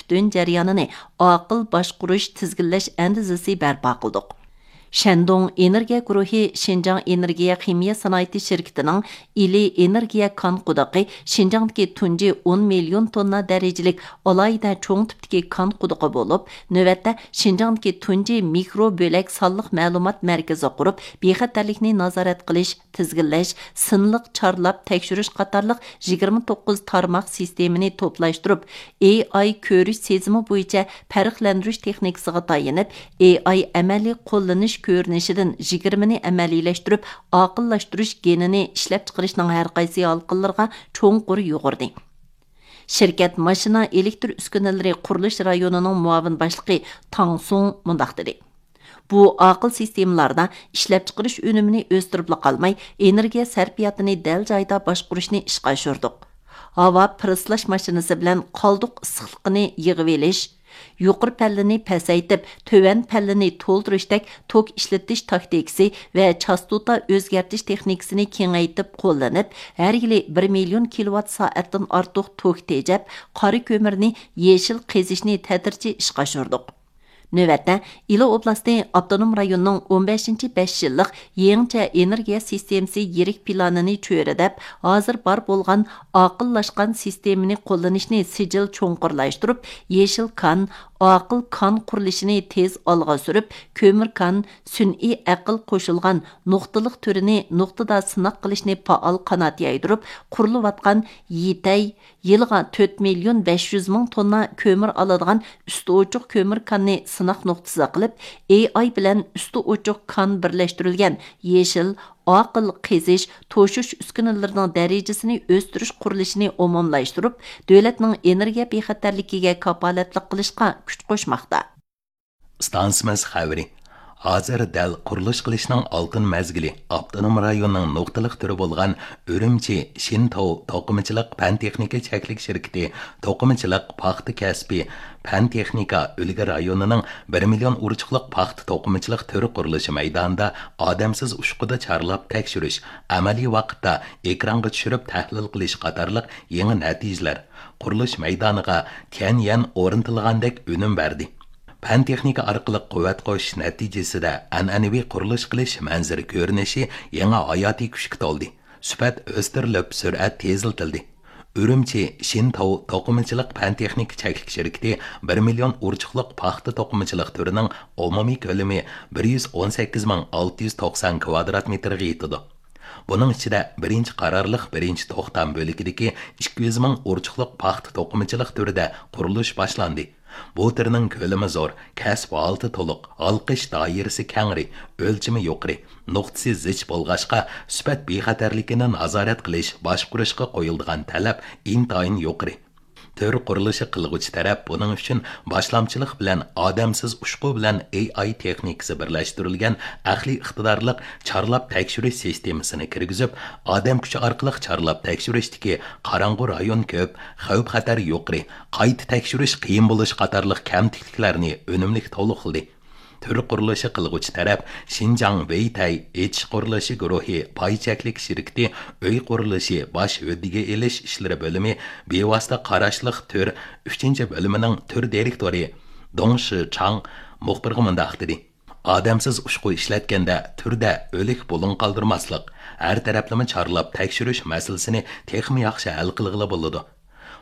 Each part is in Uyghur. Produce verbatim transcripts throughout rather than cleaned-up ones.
پۈتۈن جەريانىنى ئاقىل باشقۇرۇش، تىزگىنلەش ئەندىزىسى بەرپا قىلدۇق. شەندۇڭ ئېنېرگىيە گۇرۇھى شىنجاڭ ئېنېرگىيە خىمىيە سانائىتى شىركىتىنىڭ ئىلى ئېنېرگىيە كان قۇدۇقى شىنجاڭدىكى تۇنجى ئون مىليون توننا دەرىجىلىك ئالاھىدە چوڭ تىپتىكى كان قۇدۇقى بولۇپ، نۆۋەتتە شىنجاڭدىكى تۇنجى مىكرو بۆلەك سانلىق مەلۇمات مەركىزى قۇرۇپ، بىخەتەرلىكنى نازارەت قىلىش، تىزگىنلەش، سىنلىق چارلاپ تەكشۈرۈش قاتارلىق يىگىرمە توققۇز تارماق سىستېمىنى توپلاشتۇرۇپ، ئېي ئاي كۆرۈش سېزىمى بويىچە پەرقلەندۈرۈش تېخنىكىسىغا تايىنىپ، ئېي ئاي ئەمەلىي قوللىنىش كۆرۈنۈشىدىن يىگىرمىنى ئەمەلىيلەشتۈرۈپ، ئاقىللاشتۇرۇش گېنىنى ئىشلەپچىقىرىشنىڭ ھەرقايسى ھالقىلىرىغا چوڭقۇر يۇغۇردى. شىركەت ماشىنا ئېلېكتر ئۈسكۈنىلىرى قۇرۇلۇش رايونىنىڭ مۇئاۋىن باشلىقى تاڭ سۇڭ مۇنداق دېدى: بۇ ئاقىل سىستېمىلاردا ئىشلەپچىقىرىش ئۈنۈمىنى ئۆستۈرۈپلا قالماي، ئېنېرگىيە سەرپىياتىنى دەل جايىدا باشقۇرۇشنى ئىشقا ئاشۇردۇق. ھاۋا پىرىسلاش ماشىنىسى بىلەن قالدۇق ئىسسىقلىقىنى يىغىۋېلىش، يۇقىرى پەللىنى پەسەيتىپ، تۆۋەن پەللىنى تولدۇرۇشتەك توك ئىشلىتىش تاكتىكىسى ۋە چاستوتا ئۆزگەرتىش تېخنىكىسىنى كېڭەيتىپ قوللىنىپ، ھەر يىلى بىر مىليون كىلوۋات سائەتتىن ئارتۇق توك تېجەپ، قارا كۆمۈرنى يېشىل قېزىشنى تەدرىجىي ئىشقا ئاشۇردۇق. نۆۋەتتە، ئىلى ئوبلاستى ئاپتونوم رايونىنىڭ ئون بەشىنچى بەش يىللىق يېڭىچە ئېنېرگىيە سىستېمىسى يىرىك پىلانىنى چۆرىدەپ، ھازىر بار بولغان ئاقىللاشقان سىستېمىنى قوللىنىشنى سىجىل چوڭقۇرلاشتۇرۇپ، يېشىل كان، ئاقىل كان قۇرۇلۇشىنى تېز ئالغا سۈرۈپ، كۆمۈر كان، سۈنئىي ئەقىل قوشۇلغان نۇقتىلىق تۈرىنى نۇقتىدا سىناق قىلىشنى پائال قانات يايدۇرۇپ، قۇرۇلۇۋاتقان يىتەي، يىلىغا تۆت مىليون بەش يۈز مىڭ توننا كۆمۈر ئالىدىغان ئۈستى ئوچۇق كۆمۈر كاننى سىناق نۇقتىسى قىلىپ، ئېي ئاي بىلەن ئۈستى ئوچۇق كان بىرلەشتۈرۈلگەن يېشىل، ئاقىل قېزىش، توشۇش ئۈسكۈنىلىرىنىڭ دەرىجىسىنى ئۆستۈرۈش قۇرۇلۇشىنى ئومۇملاشتۇرۇپ، دۆلەتنىڭ ئېنېرگىيە بىخەتەرلىكىگە كاپالەتلىك قىلىشقا كۈچ قوشماقتا. ئىستانسىمىز خەۋىرى. ھازىر دەل قۇرۇلۇش قىلىشنىڭ ئالتۇن مەزگىلى. ئاپتونوم رايوننىڭ نۇقتىلىق تۈرى بولغان ئۈرۈمچى شىنتاۋ توقۇمىچىلىق پەن تېخنىكا چەكلىك شىركىتى توقۇمىچىلىق پاختا كەسپى پەن تېخنىكا ئۈلگە رايونىنىڭ بىر مىليون ئۇرچۇقلۇق پاختا توقۇمىچىلىق تۈر قۇرۇلۇشى مەيدانىدا ئادەمسىز ئۇچقۇدا چارلاپ تەكشۈرۈش، ئەمەلىي ۋاقىتتا ئېكرانغا چۈشۈرۈپ تەھلىل قىلىش قاتارلىق يېڭى نەتىجىلەر، قۇرۇلۇش مەيدانىغا تيەنيەن ئورنىتىلغاندەك ئۈنۈم بەردى. پەن تېخنىكا ئارقىلىق قۇۋۋەت قوشۇش نەتىجىسىدە ئەنئەنىۋى قۇرۇلۇش قىلىش مەنزىرە كۆرۈنۈشى يېڭى ھاياتىي كۈچكە تولدى. سۈپەت ئۆستۈرۈلۈپ، سۈرئەت تېزلىتىلدى. ئۈرۈمچى شىنتاۋ توقۇمىچىلىق پەن تېخنىكا چەكلىك شىركىتى بىر مىليون ئۇرچۇقلۇق پاختا توقۇمىچىلىق تۈرىنىڭ ئومۇمىي كۆلىمى بىر يۈز ئون سەككىز مىڭ ئالتە يۈز توقسان كۋادرات مېتىرغا يېتىدۇ. بۇنىڭ ئىچىدە بىرىنچى قارارلىق بىرىنچى توختام بۆلىكىدىكى ئىككى يۈز مىڭ ئۇرچۇقلۇق پاختا توقۇمىچىلىق تۈرىدە قۇرۇلۇش باشلاندى. بۇ تۈرنىڭ كۆلىمى زور، كەسىپ ھالىتى تولۇق، ھالقىش دائىرىسى كەڭرى، ئۆلچىمى يۇقىرى، نۇقتىسى زىچ بولغاچقا، سۈپەت بىخەتەرلىكىنى نازارەت قىلىش، باشقۇرۇشقا قويۇلىدىغان تەلەپ ئىنتايىن يۇقىرى. تۈر قۇرۇلۇشى قىلغۇچى تەرەپ بۇنىڭ ئۈچۈن باشلامچىلىق بىلەن ئادەمسىز ئۇچقۇ بىلەن ئېي ئاي تېخنىكىسى بىرلەشتۈرۈلگەن ئەقلىي ئىقتىدارلىق چارلاپ تەكشۈرۈش سىستېمىسىنى كىرگۈزۈپ، ئادەم كۈچى ئارقىلىق چارلاپ تەكشۈرۈشتىكى قاراڭغۇ رايون كۆپ، خەۋپ-خەتەر يۇقىرى، قايتا تەكشۈرۈش قىيىن بولۇش قاتارلىق كەمتۈكلۈكلەرنى ئۈنۈملۈك تولۇقلىدى. تۈر قۇرۇلۇشى قىلغۇچى تەرەپ شىنجاڭ ۋېيتەي ئېچىش قۇرۇلۇشى گۇرۇھى پاي چەكلىك شىركىتى ئۆي قۇرۇلۇشى باش ھۆددىگە ئېلىش ئىشلىرى بۆلۈمى بىۋاسىتە قاراشلىق تۈر ئۈچىنچى بۆلۈمىنىڭ تۈر دىرېكتورى دۇڭ شىچاڭ مۇخبىرغا مۇنداق دېدى: ئادەمسىز ئۇچقۇ ئىشلەتكەندە تۈردە ئۆلۈك بۇلۇڭ قالدۇرماسلىق، ھەر تەرەپلىمە چارلاپ تەكشۈرۈش مەسىلىسىنى تېخىمۇ ياخشى ھەل قىلغىلى بولىدۇ.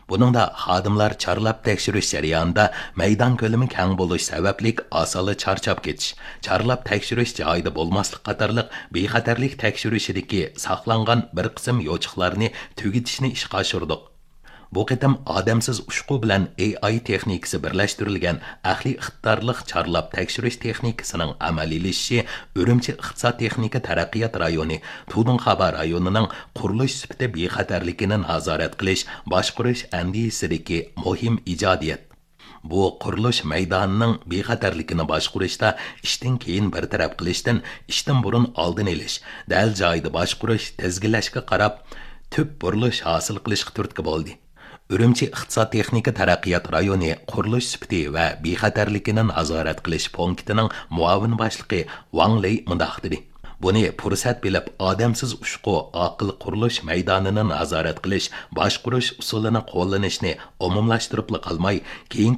بۇنىڭدا خادىملار چارلاپ تەكشۈرۈش جەريانىدا مەيدان كۆلىمى كەڭ بولۇش سەۋەبلىك ئاسانلا چارچاپ كېتىش، چارلاپ تەكشۈرۈش جايىدا بولماسلىق قاتارلىق بىخەتەرلىك تەكشۈرۈشىدىكى ساقلانغان بىر قىسىم يوچۇقلارنى تۈگىتىشنى ئىشقا ئاشۇردۇق. بۇ قېتىم ئادەمسىز ئۇچقۇ بىلەن ئېي ئاي تېخنىكىسى بىرلەشتۈرۈلگەن ئەقلىي ئىقتىدارلىق چارلاپ تەكشۈرۈش تېخنىكىسىنىڭ ئەمەلىيلىشىشى ئۈرۈمچى ئىقتىساد تېخنىكا تەرەققىيات رايونى، تۇدۇڭخابا رايونىنىڭ قۇرۇلۇش سۈپىتى بىخەتەرلىكىنى نازارەت قىلىش، باشقۇرۇش ئەندىزىسىدىكى مۇھىم ئىجادىيەت. بۇ قۇرۇلۇش مەيدانىنىڭ بىخەتەرلىكىنى باشقۇرۇشتا ئىشتىن كېيىن بىر تەرەپ قىلىشتىن، ئىشتىن بۇرۇن ئالدىنى ئېلىش، دەل جايىدا باشقۇرۇش، تىزگىنلەشكە قاراپ، تۈپ بۇرۇلۇش ھاسىل قىلىشقا تۈرتكە بولدى. ئۈرۈمچى ئىقتىساد تېخنىكا تەرەققىيات رايونى قۇرۇلۇش سۈپىتى ۋە بىخەتەرلىكىنى نازارەت قىلىش پونكىتىنىڭ مۇئاۋىن باشلىقى ۋاڭ لېي مۇنداق دېدى: بۇنى پۇرسەت بىلىپ، ئادەمسىز ئۇچقۇ ئاقىل قۇرۇلۇش مەيدانىنى نازارەت قىلىش، باشقۇرۇش ئۇسۇلىنى قوللىنىشنى ئومۇملاشتۇرۇپلا قالماي، كېيىنكى